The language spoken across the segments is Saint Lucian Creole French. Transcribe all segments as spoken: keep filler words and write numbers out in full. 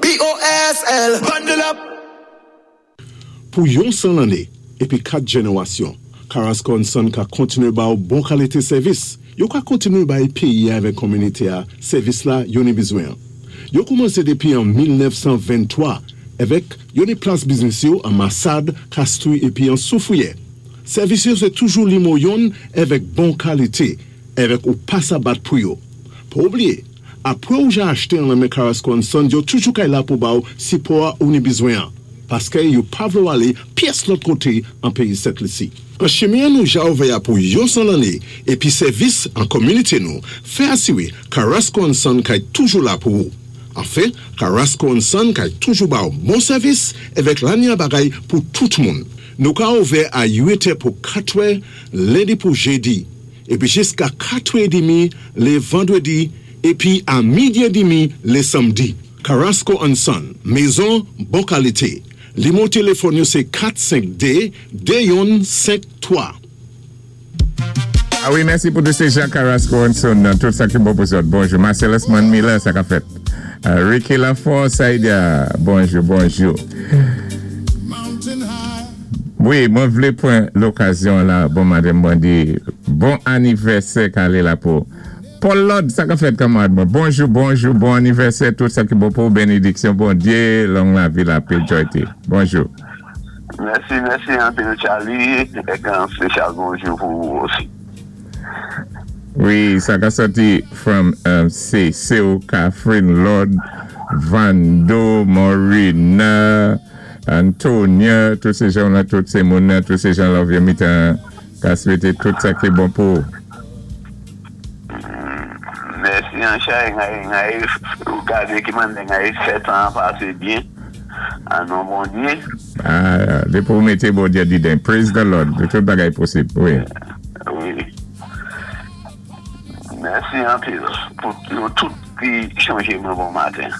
B O S L. Bundle up. Pou yon san lanné épi kat jénéwasyon, Carasco and Son ka kontiné ba ou bon kalité sèvis. Yo ka kontiné bay péyi avèk kominité a sèvis la yo ni bizwen. Yo koumansé dépi an mil nèf san venntwa avèk yo ni plas biznis yo an Massade, Castries épi an Soufrière. Sèvis yo sé toujou nimewo youn avèk bon kalité, avèk ou pa sa bat pou yo. Pa oubliyé, apwé ou ja achté an nan men Carasco and Son, yo toujou kay la pou ba ou sipò ou ni bizwen an. Paské yo pa vlé ou alé pyès lòt koté an péyi Sent Lisi. An chimen nou ja ouvè pou yon san lanné épi sèvis an kominité nou, fè asiwé Carasco and Son kay toujou la pou ou. Anfen, Carasco and Son kay toujou ba ou bon sèvis avèk lanya bagay pou tout moun. Nou ka ouvè a uit è pou kat è, lendi pou jédi, épi jiska kat è dmi lé vandwédi, épi a midi édmi lé sanmdi. Carasco and Son, mézon bon kalité. Nimewo téléfòn yo sé kat senk dé de youn senk twa. Ah wi, mèsi pou tout sé Jean Carasco and Son, nan tout sa ki bon pou zòt. Bonjou. Marcellus Man Miller, sa ka fèt. Uh, Ricky Lafont, Saïdia, bonjou, bonjou. Wi, mwen vlé pwan lokazyon la, bon maten, mwen di, bon anivèsè k alé la pou Paul Lord, sa ka fèt, kanmarad mwen. Bonjou, bonjou, bon anivèsè, tout sa ki bon pou bénédiksyon, Bondyé, long lavi, lapè, joyté. Bonjou. Mèsi, mèsi anpil, Charlie. É yon spésyal bonjou pou ou osi. Wi, sa ka sòti from um, sé Seo Catherine Lord, Vando, Morina, Antonia, tout sé jan la, tout sé moun la, tout sé jan la, vye mitan, ka swété tout sa ki bon pou. Mèsi anchè, ngay ou gadé ki mande ngay fèt an pasé byen. An non Bondyé. Ah, dépi ou mété Bondyé didan. Praise the Lord. Tout bagay posib, wi. Wi. Mèsi anpil pou nou tout ki chonjé mwen bon maten.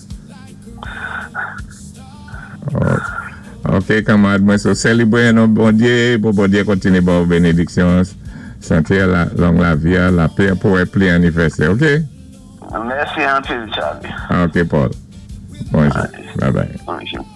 Oh, ok, kanmarad mwen, so sélébwé non Bondyé, pou Bondyé kontiné ba ou bénédiksyon, santé, la, long lavi, lapè pou wè pli anivèsè, ok? Mèsi anpil, Charlie. Ok, Paul. Bonjou. Bye bye. Bonjou.